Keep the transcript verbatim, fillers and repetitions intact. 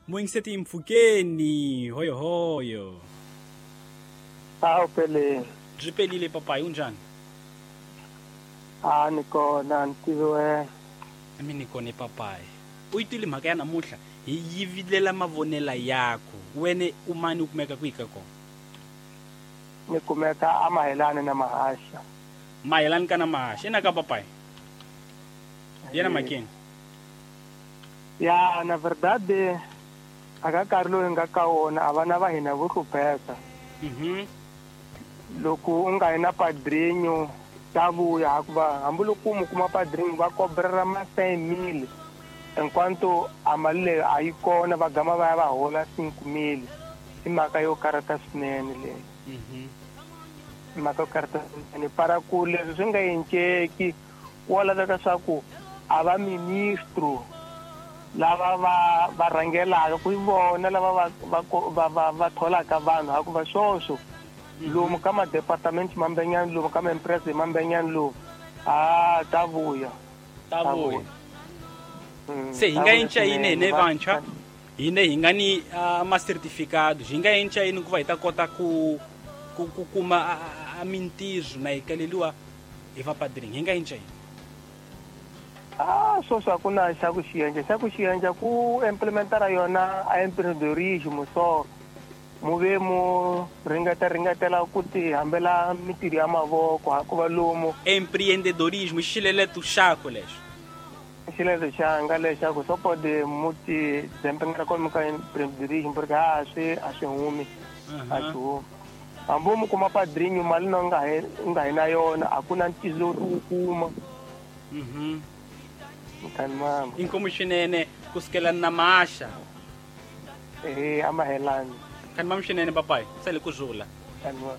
Muingiseti mpfhukeni hoyohoyo. Awu pele. Byi pelile papayi, unjhani? A ni kona, ni tiviwe. Mi ni kona papayi. U yi twile mhaka ya namuntlha, hi yivilela mavonela yakho. Wene u mani, u kumeka kwihi ka kona? Ni kumeka a Mahelani na Mahasha. Mahelani ka na Mahasha, ina ka papayi. Yena makeni. Ya, na verdade a ka nkarhi lowu hi nga ka wona a vana va hina vo hlupheka. Mhm. Loko u nga yi na padrinho ta vuya, hikuva hambiloko mu kuma padrinho va kobrela ma cinq mille, enquanto a mali leyi a yi kona, va gama va ya va hola cinq mille. I mhaka yo karhata swinene leyi. Mhm. I mhaka yo karhata swinene. Para ku leswi swi nga enceki, ku laveka swa ku a va ministro lava va va rhangelaka ku vona lava va va va va va tholaka vanhu, hikuva swoswo lomu ka ma-department mambenyani, lomu ka ma-empresa mambenyani lomu, a ta vuya. Ta vuya. Mm, Se hi ta nga vuya enca yini swinene. hine vantshwa? Hine hi nga ni ma-certificado, hi nga enca yini ku va hi ta kota ku ku ku kuma a, a, a mintirho na hi kaleliwa hi va padrinho? Hi nga enca yini? Ah, swoswo a ku na xa ku xi endla. Xa ku xi endla ku implementara yona a empreendedorismo, so mu ve mu ringeta ringetela ku ti hambela mintirho ya mavoko, hikuva lomu Empreendedorismo i xileleto xakho lexo. Xileto xanga lexaku swo pode mu ti dzempengela kwalomu ka empreendedorismo, porque a swi a swi humi, a swi humi. Hambi mu kuma padrinho, mali na u nga he u nga hi na yona, a ku na ntiyiso lowu u kuma. Mhm. Mkhani mama. Inkomu swinene kusukela na Mahasha. Eh, a Mahelani. Mkhani mama swinene papayi, sale ku zula. Mkhani mama.